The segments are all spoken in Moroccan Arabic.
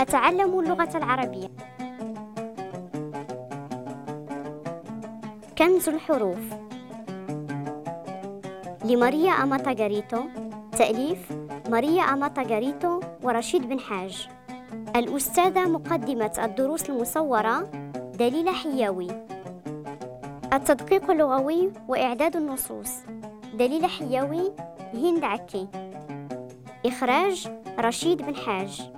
أتعلم اللغة العربية. كنز الحروف لماريا أماتا غاريتو، تأليف ماريا أماتا غاريتو ورشيد بن حاج. الأستاذة مقدمة الدروس المصورة دليلة حياوي. التدقيق اللغوي وإعداد النصوص دليلة حياوي، هند عكي. إخراج رشيد بن حاج.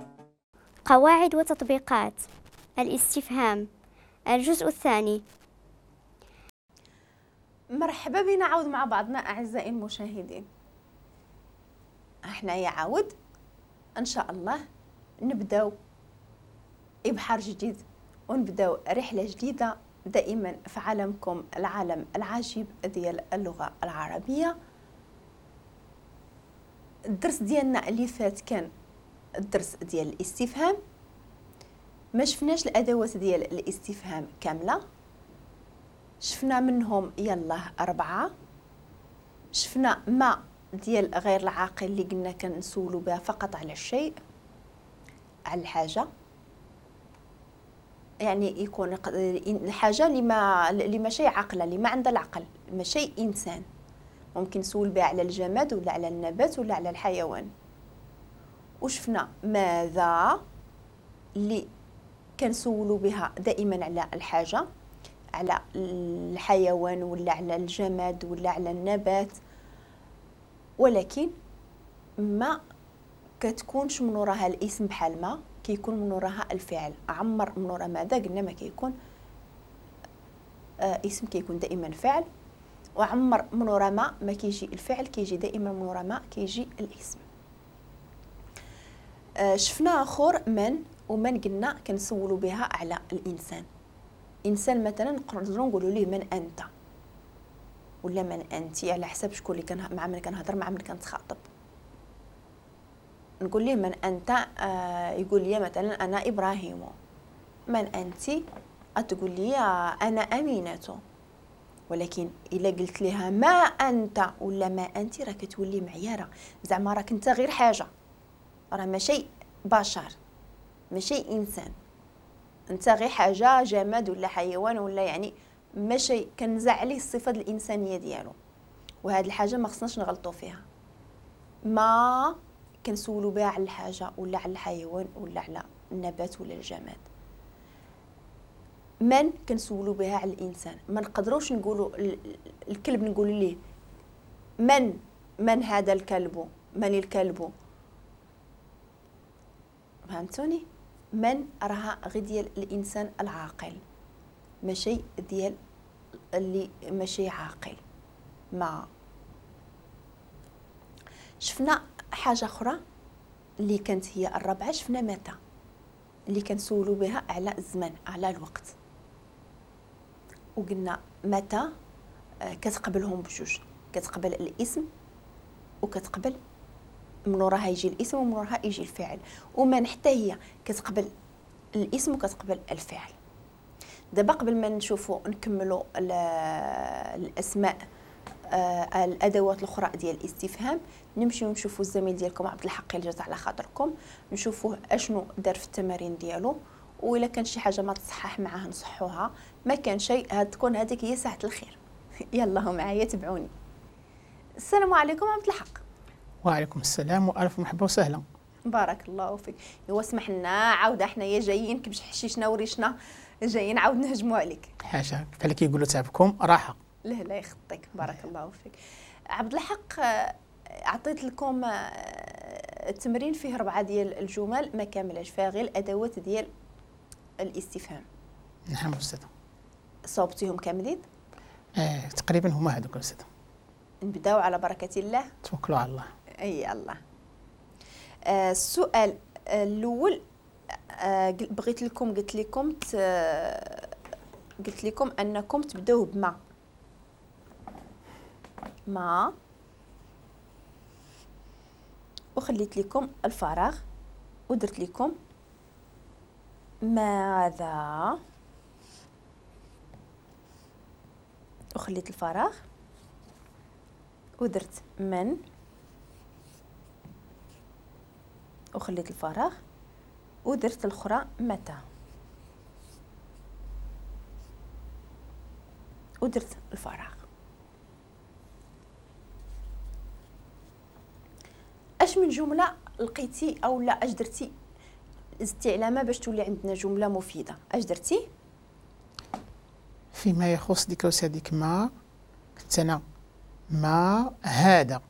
قواعد وتطبيقات الاستفهام، الجزء الثاني. مرحبا بنا عاود مع بعضنا أعزائي المشاهدين. احنا يا عاود إن شاء الله نبداو إبحار جديد ونبداو رحلة جديدة دائما في عالمكم، العالم العجيب ديال اللغة العربية. الدرس ديالنا اللي فات كان الدرس ديال الاستفهام، ما شفناش الأدوات ديال الاستفهام كاملة، شفنا منهم يلا 4. شفنا ما ديال غير العاقل اللي قلنا كنسولو بها فقط على الشيء، على الحاجة، يعني يكون الحاجة اللي ماشي عاقلة، اللي ما عندها العقل، ماشي إنسان، ممكن نسول بها على الجماد ولا على النبات ولا على الحيوان. وشفنا ماذا اللي كنسولو بها دائما على الحاجة، على الحيوان ولا على الجماد ولا على النبات، ولكن ما كتكونش من وراها الاسم بحال ما كيكون من وراها الفعل. عمر من وراها ماذا قلنا ما كيكون اسم، كيكون دائما فعل. وعمر من وراء ما كيجي الفعل، كيجي دائما من وراء ما كيجي الاسم. شفنا اخر من، ومن قلنا كنسولوا بها على الانسان. انسان مثلا نقدروا نقولوا ليه من انت ولا من انت، على حسب شكون اللي كان مع من كنهضر، مع من كنتخاطب. نقول ليه من انت، يقول لي مثلا انا ابراهيم. من انت، تقول لي انا امينه. ولكن الا قلت لها ما انت ولا ما انت، راه كتولي معياره، زعما راك انت غير حاجة، راه ماشي بشر، ماشي انسان، انت غير حاجة، جماد ولا حيوان ولا، يعني ماشي كنزع عليه الصفة الانسانية ديالو. وهذه الحاجة ما خصناش نغلطوا فيها. ما كنسولوا بها على الحاجة ولا على الحيوان ولا على النبات ولا الجماد. من كنسولوا بها على الانسان. ما نقدروش نقولوا الكلب، نقولوا ليه من هذا الكلب، من الكلب. فهمتوني؟ من راها غير ديال الانسان العاقل، ماشي ديال اللي ماشي عاقل. ما شفنا حاجة اخرى اللي كانت هي الرابعة، شفنا متى اللي كنسولوا بها على الزمن، على الوقت. وقلنا متى كتقبلهم بجوج، كتقبل الاسم وكتقبل من وراها يجي الاسم ومن وراها يجي الفعل. ومن حتى هي كتقبل الاسم وكتقبل الفعل. دابا قبل ما نشوفوا نكملوا الاسماء، الادوات الاخرى ديال الاستفهام، نمشيو نشوفوا الزميل ديالكم عبد الحق اللي جات على خاطركم، نشوفوه اشنو دار في التمارين ديالو، والا كان شي حاجة ما تصحح معاه نصحوها، ما كان شيء تكون هذيك هي ساعة الخير. يلا معايا تبعوني. السلام عليكم عبد الحق. وعليكم السلام والف مرحبا وسهلا. بارك الله فيك. هو اسمح لنا عاود حنايا جايين كبش حشيشنا وريشنا، جايين عاود نهجموا عليك. حاشا بحال كيقولوا تعبكم راحة. لا لا يخطيك، بارك الله فيك. عبد الحق، عطيت لكم التمرين فيه 4 ديال الجمل ما كاملاش، فيها غير الادوات ديال الاستفهام. نعم استاذه. صوبتيهم كاملين؟ تقريبا هما هذوك استاذه. نبداو على بركة الله. توكلوا على الله. اي الله. السؤال الاول، بغيت لكم، قلت لكم انكم تبداو بما. ما، وخليت لكم الفراغ ودرت لكم ماذا، وخليت الفراغ ودرت من، وخليت الفراغ ودرت الاخرى متى ودرت الفراغ. اش من جملة لقيتي او لا اش درتي زدتي علامة باش تولي عندنا جملة مفيدة؟ اش درتي؟ فيما يخص ديك هذيك ما كنت انا ما هذا،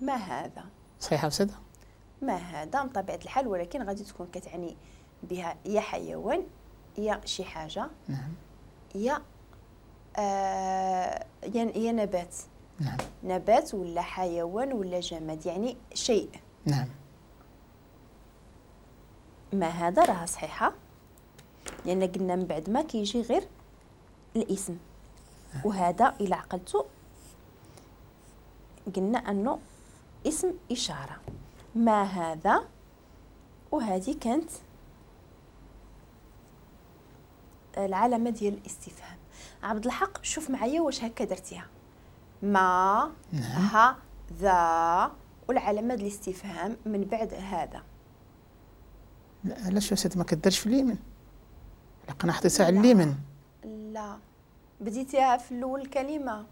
ما هذا صحيحه استاذه؟ ما هذا بطبيعة الحال، ولكن غادي تكون كتعني بها يا حيوان يا شي حاجة، نعم، يا يا نبات، نعم، نبات ولا حيوان ولا جماد، يعني شيء. نعم. ما هذا راها صحيحه، لان قلنا من بعد ما كيجي غير الاسم، وهذا الى عقلتو قلنا انه اسم اشارة. ما هذا، وهذه كانت العلامة ديال الاستفهام. عبد الحق شوف معايا واش هكا درتيها، ما هذا والعلامة ديال الاستفهام من بعد هذا. لا علاش استاذ ما كديرش في اليمين؟ انا حطيتها على اليمين. لا بديتيها في الاول الكلمة.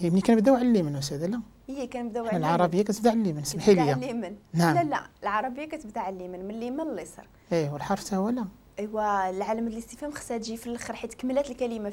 ملي كنبداو على اليمين استاذ. لا هي كنبداو على العربية كتبدا على اليمين، سمحي لي. على اليمين. نعم. لا لا العربية كتبدا على اليمين، من اليمين لليسار. ايوا والحرف حتى هو لا. ايوا العلامة الاستفهام خصها تجي في الاخر حيت كملات الكلمة.